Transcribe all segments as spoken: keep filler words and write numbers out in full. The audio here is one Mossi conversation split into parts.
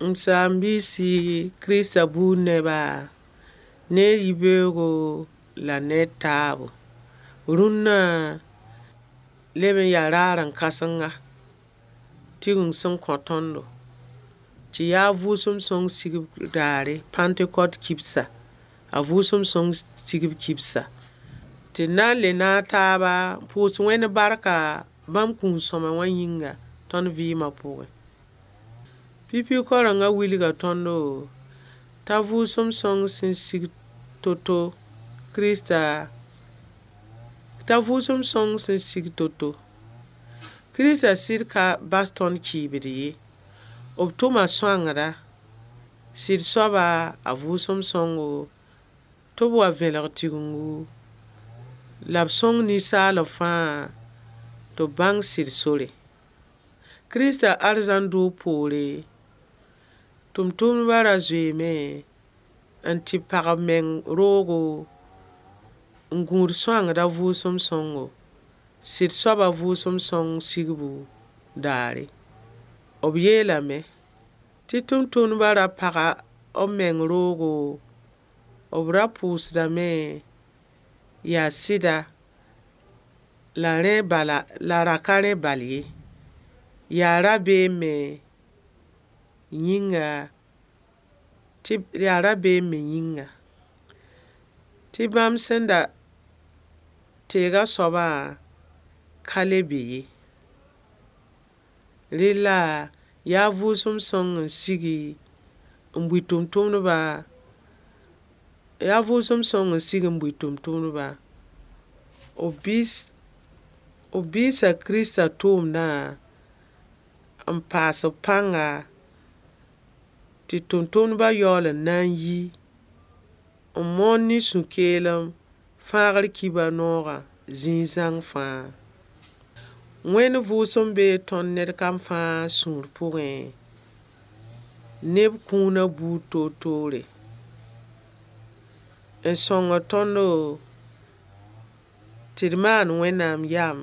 M saam-biisi Krista buud neba, ne yibeoogo la ne taabo. Rũnna leb n yaa raaren-kãsenga tigim sẽn kõ tõndo tɩ yaa vʋʋsem sõng sigb daare, pãntekot kibsa. A vʋʋsem sõng sigb kibsa. Tɩ d na n le naag taaba n pʋʋs Wẽnd barka bãmb kũun-sõma wã yĩnga tõnd vɩɩma pʋgẽ. Pipi kaorengã wilga tõndo t'a vʋʋsem sõng sẽn sig to-to Kirista t'a vʋʋsem sõng sẽn sig to-to. Kirista sɩd ka bas tõnd kɩɩbd ye. B tʋma sõangda, sɩd soaba, a vʋʋsem sõngo tɩ b wa vẽlg tigengu la b sõng ninsaalb fãa tɩ b bãng sɩd sore. Kirista arzãn doog poore, tʋmtʋmdba ra zoeeme n tɩ pag b meng roogo n gũud sõangda vʋʋsem sõngo, sɩd soaba vʋʋsem sõng sigbu daare. B yeelame tɩ tʋmtʋmdba ra paga b meng roogo, b ra pʋʋsdame yaa sɩda la rẽ bala la ra ka rẽ bal ye. Yaa rabeem me yĩnga tɩ yaa rabeem me yĩnga tɩ bãmb sẽn da teega soabã ka le be ye. Rella yaa vʋʋsem sõng n sigi n bui tʋmtʋmdba yaa vʋʋsem sõng n sig n bui tʋmtʋmdba. B biis b biisa Kirista tʋʋmdã n paas b pãnga tɩ tʋmtʋmdba yaool n na n yi n moon ne sũ-keelem fãagr kibar noogã zĩig zãng fãa. Wẽnd vʋʋsem bee tõnd ned kam fãa sũur pʋgẽ, neb kũuna buud toor-toore. N sõngd tõndo tɩ d maan Wẽnnaam yam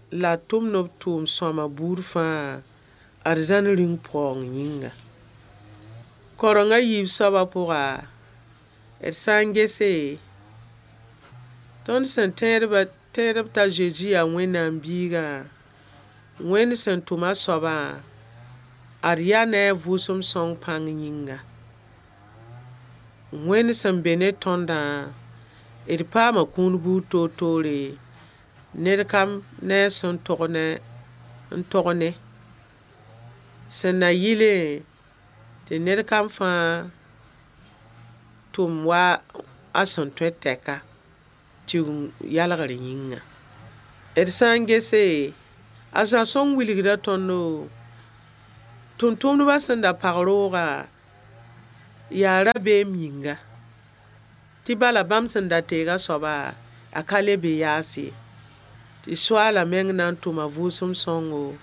la d tʋmd b tʋʋm-sõma buud fãa arzãn rĩung paoong yĩnga. Kaoreng a yiib soabã pʋga, d sã n gese, tõnd sẽn tẽedba tẽedb t'a Zezi yaa Wẽnnaam biigã, Wẽnd sẽn tʋm a soabã, ad yaa ne a vʋʋsem sõng pãng yĩnga. Wẽnd sẽn be ne tõndã, d paama kũun buud toor-toore, ned kam ne a sẽn tog ne n tog ne. Sẽn na yɩlẽ tɩ ned kam fãa tʋm wa a sẽn tõe tɛka Tigeng yalgr yĩnga. D sã n gese, a Zã sõng wilgda tõndo tʋmtʋmdba sẽn da pag roogã yaa rabeem yĩnga tɩ bala bãmb sẽn da teega soaba, a ka le be yaas ye. Tɩ Soaala meng na n tʋma vʋʋsem sõngo,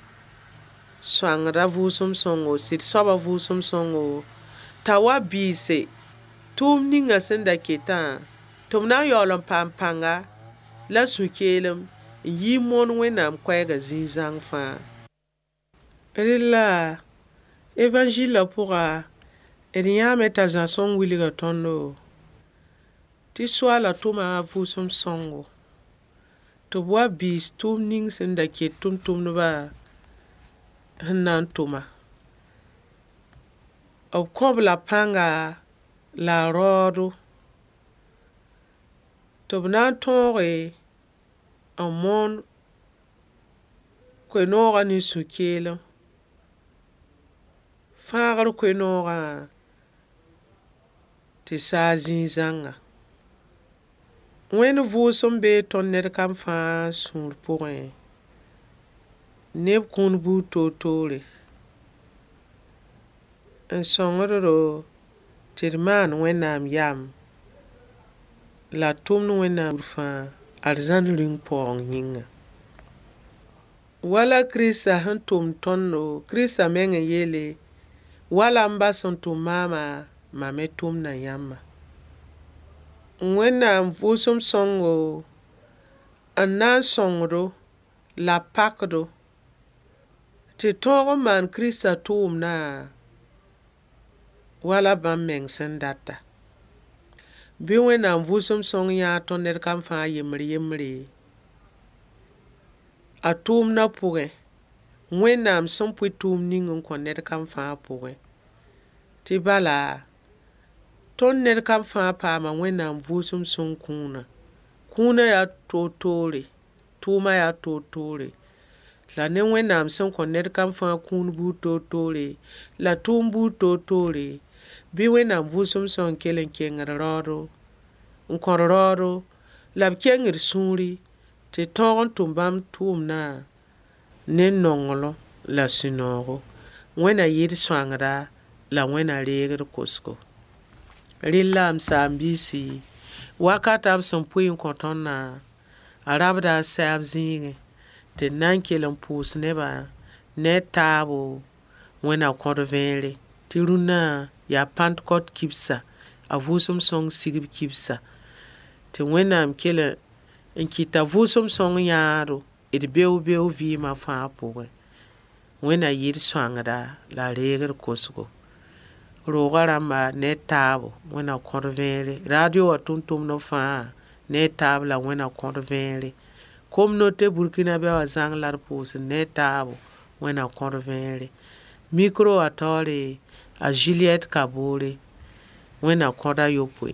sõangda vʋʋsem sõngo, sɩd soaba vʋʋsem sõngo, t'a wa biise tʋʋm ninga sẽn da ketã tɩ b na n yaool n paam pãnga la sũ-keelem n yi n moon Wẽnnaam koɛɛgã zĩig zãng fãa. Rella, Evanzɩllã pʋga, d yãame t'a Zã sõng wilga tõndo tɩ Soaala tʋma a vʋʋsem sõngo tɩ b wa biis tʋʋm ning sẽn da ket tʋmtʋmdba sẽn na n tʋma. B kõ-b la pãnga la a raoodo tɩ b na n tõoge n moon koe-noogã ne sũ-keelem. Fãagr koe-noogã tɩ saag zĩig zãnga. Wẽnd vʋʋsem bee tõnd ned kam fãa sũur pʋgẽ, neb kũun buud toor-toore. N sõngd-do tɩ d maan Wẽnnaam yam la d tʋmd Wẽnnaam fãa arzãn rĩung paoong yĩnga. Wala Kirista sẽn tʋm tõndo, Kirista meng n yeele, wala m ba sẽn tʋm maama, mam me tʋmda yãmba. Wẽnnaam vʋʋsem sõngo n na n sõngdo la pakdo tɩ Tɩ tõog n maan Kiristã tʋʋmdã wala bãmb meng sẽn data. Bɩ Wẽnnaam vʋʋsem sõng yãag tõnd ned kam fãa yembr-yembre, a tʋʋmdã pʋgẽ, Wẽnnaam sẽn pʋɩ tʋʋmd ning n kõ ned kam fãa pʋgẽ, tɩ bala, tõnd ned kam fãa paama Wẽnnaam vʋʋsem sõng kũunã. Kũunã yaa toor-toore, tʋʋma yaa toor-toore. La ne Wẽnnaam sẽn kõ ned kam fãa kũun buud toor-toore, la tʋʋm buud toor-toore, bɩ Wẽnnaam vʋʋsem sõng kell n keng d raoodo, n kõ d raoodo, la b keng d sũuri, tɩ d tõog n tʋm bãmb tʋʋmdã ne nonglem la sũ-noogo. Wẽnna yɩ d sõangda, la Wẽnna reeg d kosgo. Rella m saam-biisi, wakata b sẽn pʋɩ n kõ tõndã, a rabda a sɛɛb zĩigẽ tɩ d na n kell n pʋʋs nebã ne a taabo Wẽnna kõt vẽere tɩ rũnna yaa pãntegɔt kibsa, a vʋʋsem sõng sigb kibsa, tɩ Wẽnnaam kell n kɩt t'a vʋʋsem sõng yãado d beoog-beoog vɩɩma fãa pʋgẽ. Wẽnna yɩ d sõangda la a reeg d kosgo. Roogã rãmba ne a taabo Wẽnna kõt vẽere. Radio wã tʋmtʋmdb fãa ne a taab la Wẽnna kõt vẽere. Communauté Burkinabɛ wã zãng la d pʋʋsd ne a taabo Wẽnna kõt vẽere. Micro wã taoore, a Juliette Kabore. Wẽnna kõt a yopoe.